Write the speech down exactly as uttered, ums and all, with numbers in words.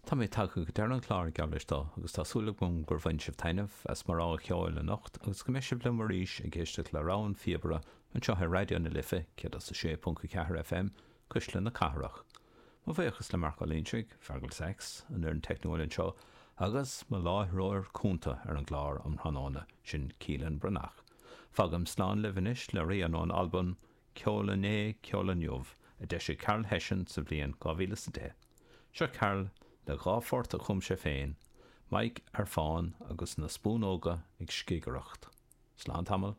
Tá mé tagtha go deireadh an chláir geall leis do agus tá súil agam gur bhain sibh taitneamh as mo rogha cheoil anocht agus go mbeidh sibh liom arís ag éisteacht le rogha an phíobaire anseo ar Raidió na Life céad a sé ponc a ceathair FM Cuisle na Cathrach. Mo bhuíochas le Marc Ó Loingsigh, Feargal Sax, an fhoireann teicniúil anseo, agus mo láithreoir cúnta ar an gclár um thráthnóna sin Keelan Breathnach. Fágaim slán libh anois le rian ón albam Ceol Inné Ceol Inniu a d'eisigh Carol Hession sa bhliain dhá mhíle is a deich. Seo Carol le dhá phort a chum sé féin, Mike ar fán agus na spúnóga ag scigireacht. Slán tamall.